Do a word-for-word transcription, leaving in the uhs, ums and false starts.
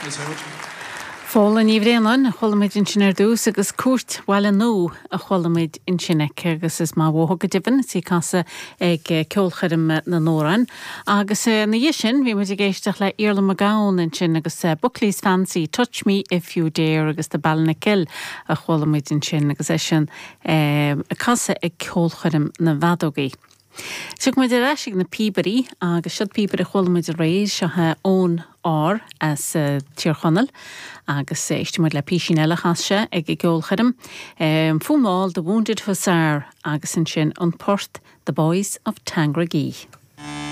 Thanks very much. Fódhla Ní Bhraonáin a chuala muid ansin ar dtús agus Cúirt Bhaile Nua a chuala muid ansin aici agus is maith uathu go deimhin is í casadh ag ceolchoirm na n-amhrán. Agus ina dhiaidh sin bhí muid ag éisteacht le Iarla Mac Gabhann ansin agus Buckley's Fancy, Touch Me If You Dare agus the Ballinakill a chuala muid ansin agus é sin ag casadh ag ceolchoirm na bhfeadógaí. Tiocfaidh muid ar ais ag na píobairí agus siod píobaire a chuala muid aréir seo ón ár as uh, Tír Chonaill agus éistfidh muid le písín eile chas sé ag an gceolchoirm. Um, Fuaimál the Wounded Hussar agus ansin an port The Boys of Tandragee.